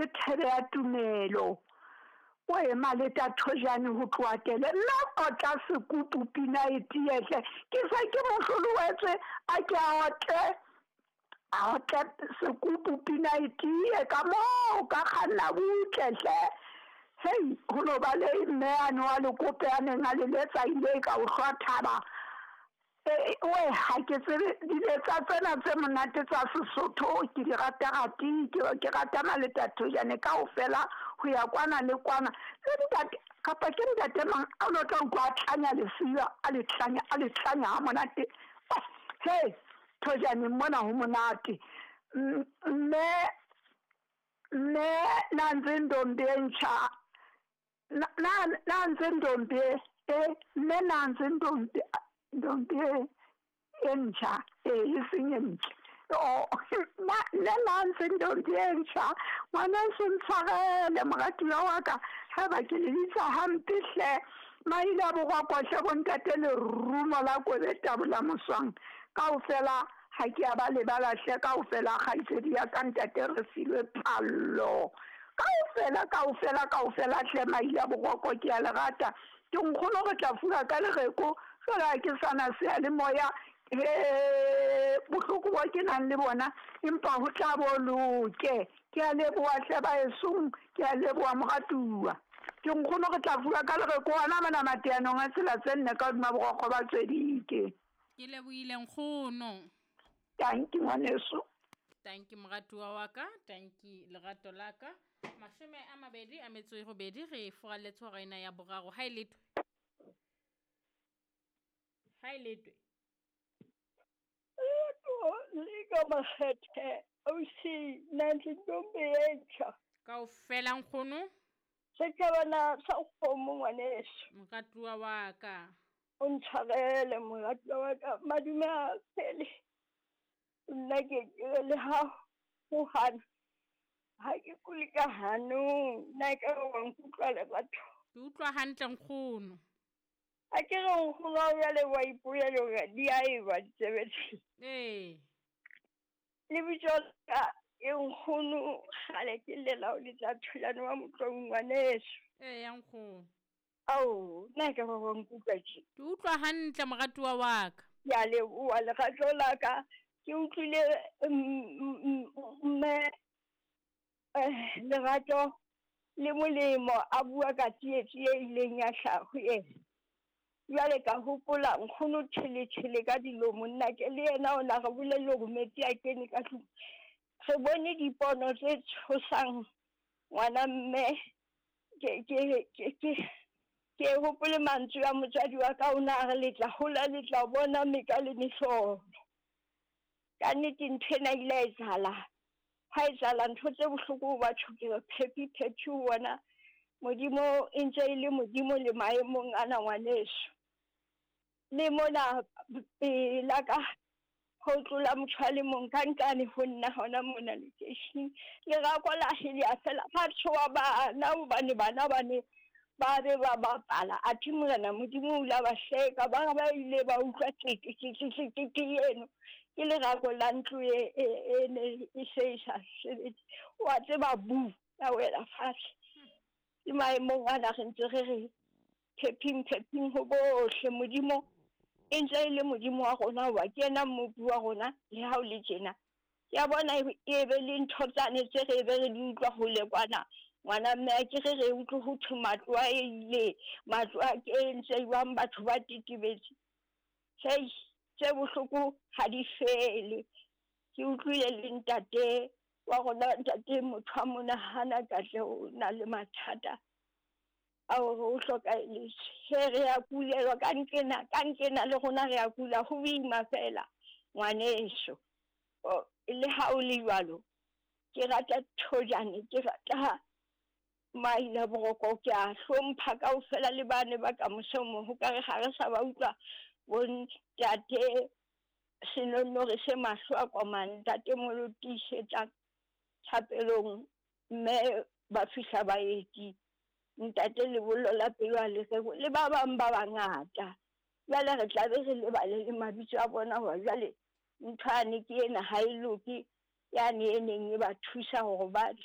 Ke thebe ya tumelo. O e Maleta Thojane ho tloha tele mme otla sekupu pina e tiehle. Ke se ke mohlolowetswe a ke a otle a otle sekupu pina e tie ka moo ka kganna butle hle. Hei ho no ba le mme ane wa lekope a neng a le letsa ile ka o hlwa thaba. Oe ha ke tsebe diletsa tsena tse monate tsa Sesotho ke di rata rati ke rata Maleta Thojane kaofela ho ya kwana le kwana. Le ntate kapa ke ntate mang a no tla utlwa a tlanya lesiba a le tlanya a le tlanya ha monate. He Thojane mona ho monate. Mme mme Nanzi ntombi e ntjha Nanzi ntombi e mme Nanzi ntombi ntombi e ntjha e seng e ntle. O nne Nanzi ntombi e ntjha ngwaneso ntshwarele moratuwa wa ka haeba ke le bitsa hampe hle. Maile a boroko hle bontate lerumo la kobe tabola moswang kaofela ha ke a ba lebala hle kaofela kgaitsedi ya ka ntate re filwe phallo. Kaofela kaofela kaofela hle maile a boroko ke a le rata. Ke nkgono re tla fuwa ka lereko jwale ha ke sana seyalemoya he bohloko bo ke nang le bona empa ho tla bo loke. Ke a leboha hle baesong ke a leboha moratuwa. Ke nkgono re tla fuwa ka lereko hona mona mateanong a tsela tse nne ka hodima borokgo ba Tswedike. Ke lebohile nkgono. Tanki ngwaneso. Tanki moratuwa wa ka, tanki lerato la ka. 28 re furaletse hora ena ya boraro. Ha e letwe. Ha e letwe. Letho le ka makgethe ausi Nanzi ntombi e ntjha. Kaofela nkgono. Setjhabana sa kgomo ngwaneso. Moratuwa wa ka. O ntshwarele moratuwa wa ka madume a pele. Nna ke le ha ho hana. Ha ke kule ka hanong, nna ka wa nkutlwa lerato. Ke utlwa hantle nkgono. Ha ke re nkgono wa jwale wa ipolela hore di a eba ditsebe tse. Ee. Lebitso la ka e nkgono kgale ke llela ho letsa Thulane wa Motlong ngwaneso. Ee ya nkgono. Ao, nna ka ba wa nkutlwa tje. Ke utlwa hantle moratuwa wa ka. Ke a leboha lerato la ka. Ke utlwile mme lerato le molemo a bua ka tsietsi e ileng ya hlaha ho yena. Jwale ka hopola nkgono tjheletjhele ka dilomo nna ke le yena o na re bolelle hore metsi a kene ka tlung. Re bone dipono tse tshosang ngwana mme ke hopole mantswe a motswadi wa ka o na re letla hola letla bona meka le mehlolo. Ka nnete ntho ena ile ya etsahala. Ha etsahala ntho tse bohloko ho batho ke re phephi phephi ho bona Modimo e ntse e le Modimo le maemong ana ngwaneso. Le mona pela ka ho tlola motho a le mong ka nqane ho nna hona mona lekeisheneng. Lerako la hele fela ha tshoha bana hobane bana ba ne ba be ba bapala. Athe Morena Modimo o la ba hleka ba ba ile ba utlwa teke teke teke teke eno. Ke lerako la ntlo e ne e se e sa sebetse. Wa tseba bu ya wela fatshe. Ke maemong ana re ntse re re phephing phephing ho bohle. Modimo e ntse e le Modimo wa rona wa ke yena mmopi wa rona le ha o le tjena. Ke a bona e be le ntho tsane tse re be re di utlwa hole kwana. Ngwana mme a ke re re utlwe ho thwe matlo a ile, matlo a kentse jwang batho ba tetebetse. Hei, tse bohloko ha di fele. Ke utlwile le ntate wa rona ntate motho a monahana Katleho o na le mathata a hore o hlokahelletswe. He re a kulelwa ka nqena le rona re a kula ho boima fela ngwaneso. Le ha o le jwalo ke rata Thojane, ke rata Maila Boroko, ke a hlompha kaofela le bane ba ka mose mo ho ka re ha re sa ba utlwa bo ntate Senonore se mahlo a komang ntate Molotisetsa thapelong mme ba fihla baeti ntate lebollo la pelo a le reko le ba bang ba bangata. Jwale re tla be re lebale le mabitso a bona hore jwale ntho yane ke ena ha e loke yane e neng e ba thusa hore ba tle